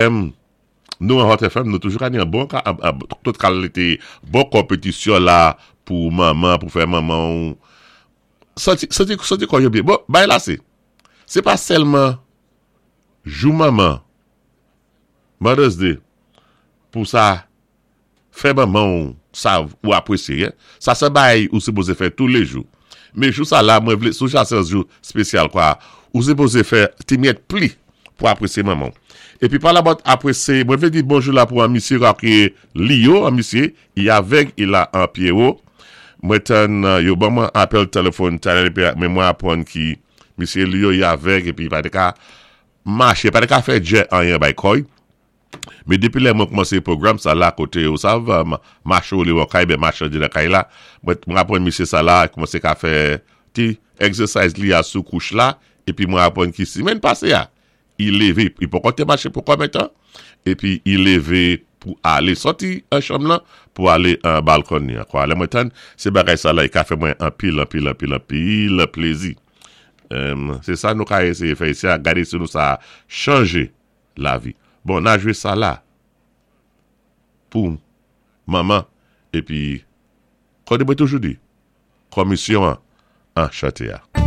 Nou an Hot FM nou toujou ka ni an bon ka tout kalite bon konpetisyon la pou manman pou fè manman ou santi santi santi kò yo byen. Bon bagay la se se pa sèlman jou manman Mother's Day pou sa Fè manman w sa ou apresye. Sa se bagay ou sipoze fè toulejou. Men jou sa la mwen vle sou sa se yon jou spesyal kwa. Ou sipoze fè ti myèt pli pou apresye manman w. Epi pa la bòt apresye mwen vle di bonjou la pou an misye kwa ki Lio an misye i avèg i la an Pierrot. Mwen tann yo ban mwen apèl telefòn talè epi men mwen aprann ki misye Lio i avèg epi pa te ka mache pa te ka fè djè anyen bay kòy. Men depi lè mwen koumanse pwogram sa la kote ou sav mache ou lewan kay ben mache andedan kay la mwen aprann misye sa la koumanse ka fè ti exercise li a sou kouch la epi mwen aprann ki semèn pase a i leve i poko te mache pou konbyen tan epi i leve pou ale sòti an chanm lan pou ale an balkon li ankò lè mwen tann se bagay sa la i ka fè mwen anpil anpil anpil anpil plezi se sa nou ka eseye fè isi a gade si nou sa chanje lavi. Bon na jwe sa la pou manman epi kòde mwen toujou di kòmisyon an an chante a.